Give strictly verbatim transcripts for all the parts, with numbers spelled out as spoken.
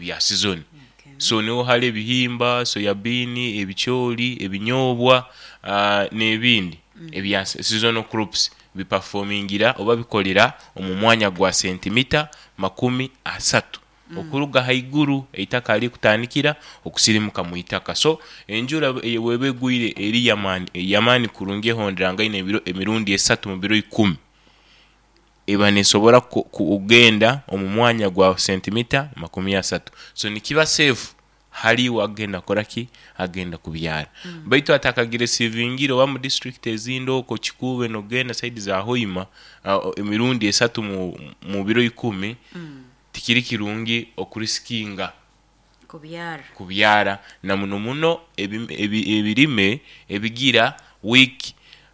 Ebya season. Okay. So niho hari ebihimba, soya bean, ebicoori, ebinyobwa uh, n'ebindi ebya seasonal crops biperformingira oba bikolera omu mwanya gwa sentimita makumi asatu okuruga haiguru eitaka harikutandikira okusirimuka mu itaka. So enjura eh, bweba egwire eri yamaani yamaani kurungi, ehonderangaine ebiro emirundi esatu mu biro ikumi, eba nesobora ku- kugenda omu mwanya gwa sentimita makumi asatu. So nikiba safe haliwe agenda kukoraki, agenda kubyara. Baitu atakagireceivingire oba mu district ezindi okwo Kikuube nogenda side za Hoima, uh, emirundi esatu mu, mu biro ikumi tikiri kirungi okuriskinga kubyara. Kubyara, na muno muno ebi- ebi- ebirime ebigira weak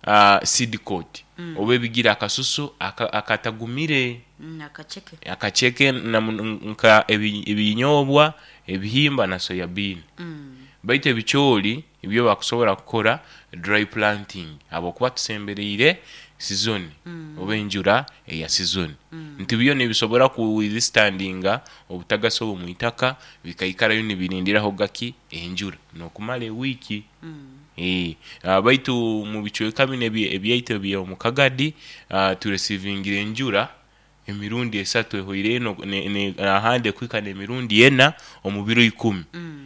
uh, seed coat oba ebigira akasusu aka- akatagumire. Mm, akaceke. Akaceke, na muno nka ebi- ebinyobwa, ebihimba na soya bean. Mm. Baitu ebicoori ibyo bakusobora kukora dry planting habwokuba tusembereire season oba enjura eya season, nti byo nibisobora kuwithstandinga obutagasi obu mwitaka, bikaikarayo nibirindiraho gaki enjura nokumara ewiiki. Eh, ah, baitu mu bicweka bino ebi- ebyaitu ebyomu Kagadi, uh, tureceivingira enjura emirundi esatu ehoire eno ne- ne- ahandi ekuhika n'emirundi ena omu biro ikumi.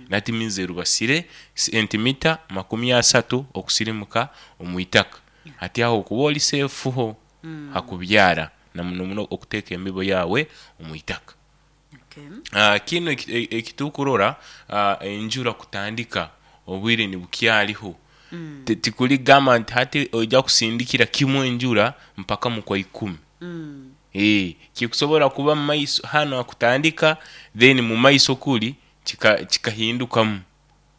That means erubasire sentimita makumi asatu okusirimuka omu itaka. Hati aho okuba oli safe ho hakubyara, na muno muno okuteeka embibo yawe omu itaka. Okay. Uh, kinu eki- e- ekitukurora, uh, enjura kutandika obwire nibukyariho. Ti- tikuligamba nti hati ojja kusindikira kimu enjura mpaka mu kwa ikumi. Mm. Eh, kikusobora kuba mumaiso hano akutandika, then mu maiso kuri kika- kikahindukamu,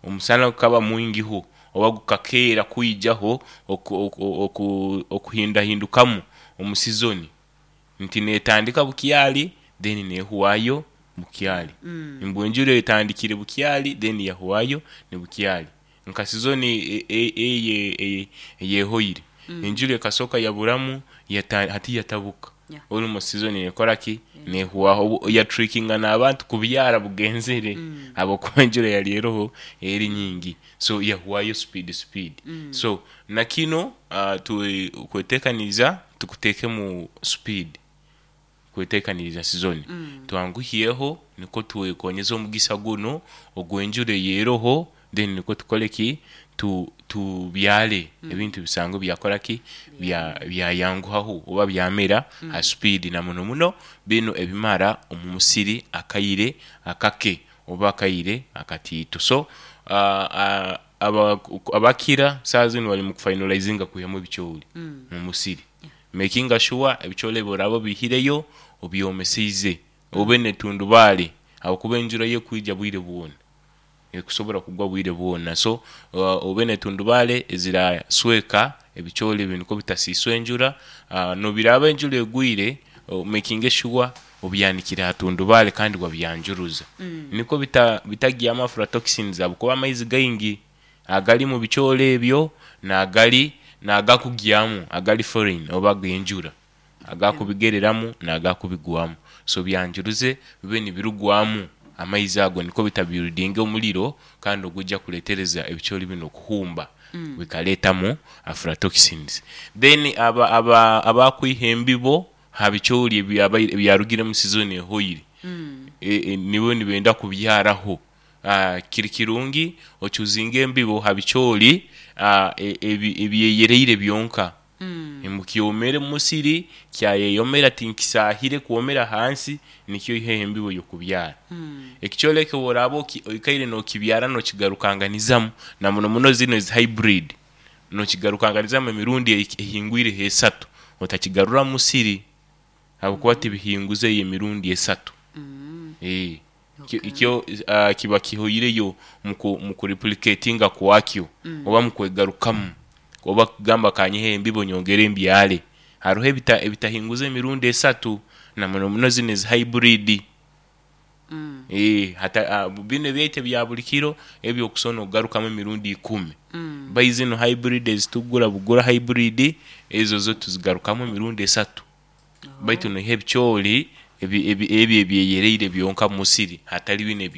omusana gukaba mwingiho oba gukakeera kwijaho oku- oku- oku- okuhindahindukamu omu season, nti netandika bukyali, then nehuwayo bukyali. Mbwe enjura etandikire bukyali, then yahuwayo ni bukyali. Nka season e- e- eye eye- eyehoire, enjura ekasoka yaburamu, yata, hati yatabuka. Yeah. Almost season nekora ki, nehuwaho. Obu- yatrickinga n'abantu kubyara bugenzere habwokuba enjura yali eroho eri nyingi, so yahuwayo speed speed. So na kino uh, tu- kwetekaniriza tukuteeke mu speed kwetekaniriza season, twanguhyeho niko twekonyeza omugisa guno ogw'enjura eyeroho, then niko tukole ki, tu tubyale ebintu bisanzwe byakora ki, bya byayanguhaho oba byamera ha speed, na muno muno bino ebimara omu musiri akaire akake oba akaire akatiito. So uh, uh, aba- abakira saa zino bali mu kufinalizinga kwihamu ebicoori mu musiri, making sure ebicoori ebyo oraba obihireyo obyomeseize, obe netundubaare, habwokuba enjura yo ekwija bwire bwona, ekusobora kugwa bwire bwona. So uh, obe netundubaare ezirasweka ebicoori ebi niko bitasiiswa enjura. uh, nobiraba enjura egwire, uh, making sure obyanikire ha tundubaare kandi wabyanjuruza niko bita bitagyamu aflatoxins, habwokuba amaizi gaingi agali mu bicoori ebyo nagali nagakugyamu agali foreign oba ag'enjura agakubigereramu nagakubigwamu. So byanjuruze bibe nibirugwamu amaizi ago niko bitabuildinga omuliro kandi ogujja kuletereza ebicoori bino okuhumba, bikaletamu aflatoxins. Then aba aba abakwiha embibo ha bicoori ebyabaire ebyarugire mu season ehoire, e, e, nibo nibenda kubyaraho, uh, kiri kirungi ochoosinga embibo ha bicoori uh, ebi- ebyeyereire byonka, mukyomere musiri kyayeyomera, tinkisahire kwomera hansi, nikyo iheho embibo yokubyara. Ekicoori ekyo bworaba oki- oikaire nokibyara nokigarukanganizamu, na muno muno zino ezi hybrid, nokigarukanganizamu emirundi ehi- ehingwireho esatu, otakigarura mu musiri habwokuba tibihinguzeyo emirundi esatu. Eh, kyo- kyo uh, kiba kihoireyo muku mukureplicatinga kwakyo oba mukwegarukamu, oba kugamba kanyihe embibo nyongere mbyare. Hariho ebita ebitahinguza emirundi esatu, na muno muno zino ezi hybrid. Eh, hata uh, bino ebyaitu ebya buli kiro ebyo okusobola nokugarukamu emirundi ikumi, bai zino hybrid ezitugura bugura hybrid ezo zo tuzigarukamu emirundi esatu, baitu noiha ebicoori ebi- ebi- ebyo ebyeyereire byonka mu musiri, hatali bino.